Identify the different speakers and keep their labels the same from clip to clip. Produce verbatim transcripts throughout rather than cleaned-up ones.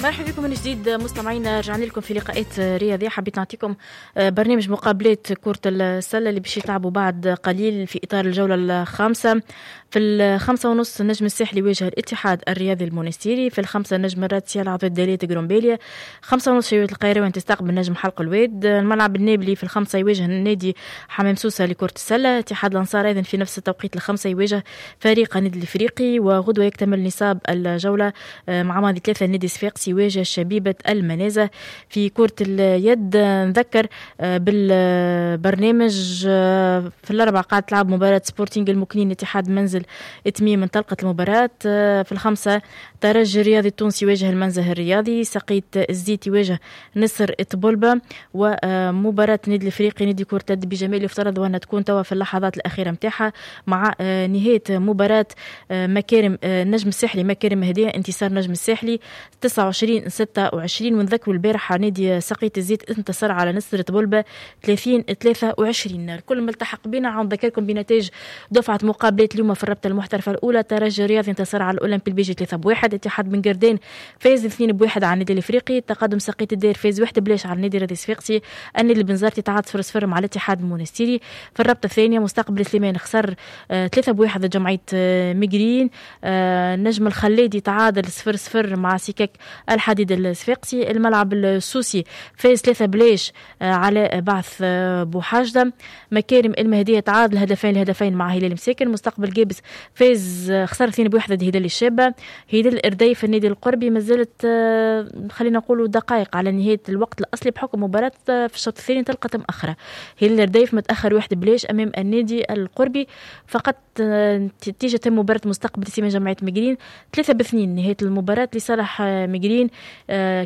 Speaker 1: مرحبا بكم من جديد مستمعينا، رجعنا لكم في لقاءات رياضية. حبيت نعطيكم برنامج مقابلات كرة السلة اللي باش يتلعبوا بعد قليل في إطار الجولة الخامسة. في الخمسة ونص النجم الساحلي يواجه الاتحاد الرياضي المونستيري. في الخمسة النجم الرادسي يلعب ضد دالية قرمبالية. خمسة ونص شبيبة القيروان تستقبل نجم حلق الواد. الملعب النابلي في الخمسة يواجه النادي حمام سوسة لكرة السلة. اتحاد الأنصار أيضا في نفس التوقيت الخمسة يواجه فريق النادي الإفريقي. وغدوة يكتمل نصاب الجولة مع ماضي ثلاثة النادي الصفاقسي يواجه شبيبة المنازه. في كرة اليد نذكر بالبرنامج في الأربع قاعد تلعب مباراة سبورتينغ المكنين اتحاد منزل تميم، انطلقت المباراة. في الخمسة ترجي الرياضي التونسي يواجه المنزه الرياضي. سقيت الزيت يواجه نصر طبلبة. ومباراة النادي الافريقي نادي كرة اليد بجمال يفترض وأنها تكون توا في اللحظات الأخيرة متاعها مع نهاية مباراة مكارم النجم الساحلي مكارم هدية، انتصار نجم الساحلي تسعة وعشرين ستة وعشرين. ونذكروا البارحة نادي سقية الزيت انتصر على نصر طبلبة ثلاثين ثلاثة وعشرين. الكل ملتحق بنا. عم نذكركم بنتائج دفعة مقابلات اليوم في الرابطة المحترفة الأولى. ترجي الرياضي انتصر على الأولمبي البيجي ثلاثة بواحد. اتحاد بن قردان فاز اثنين بواحد على النادي الافريقي. تقدم سقية الدير فاز واحد بلاش على النادي الرياضي الصفاقسي. النادي البنزرتي تعادل صفر صفر مع الاتحاد المونستيري. في الرابطة الثانية مستقبل سليمان خسر ثلاثة بواحد ضد جمعية ميغرين. النجم الخلادي تعادل صفر صفر مع سكك الحديد الصفاقسي. الملعب السوسي فاز ثلاثة بلاش على بعث بوحاجدة. مكارم المهدية تعادل هدفين لهدفين مع هلال مساكن. مستقبل جابس فاز خسر اثنين بواحد ضد هلال الشابة. هلال الإرديف النادي القربي مازالت خلينا نقولوا دقائق على نهاية الوقت الأصلي بحكم مباراة في الشوط الثاني انطلقت مؤخرة. هلال الإرديف متأخر واحد بلاش أمام النادي القربي فقط. نتيجة مباراة مستقبل سيما جمعية مجرين ثلاثة باثنين نهاية المباراة لصالح مجرين.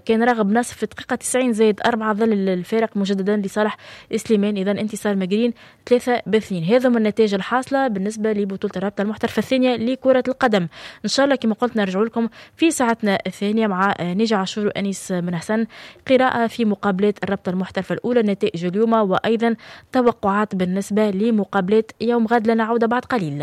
Speaker 1: كان راغب نصف في دقيقة تسعين زائد أربعة ظل الفارق مجددا لصالح سليمان. إذا انتصار مجرين ثلاثة باثنين. هذا من النتائج الحاصلة بالنسبة لبطولة الرابطة المحترفة الثانية لكرة القدم. إن شاء الله كما قلت نرجع لكم في ساعتنا الثانية مع ناجي عاشور وأنيس بن حسن، قراءة في مقابلات الرابطة المحترفة الأولى، نتائج اليوم وأيضا توقعات بالنسبة لمقابلات يوم غد. لنا عودة بعد قليل.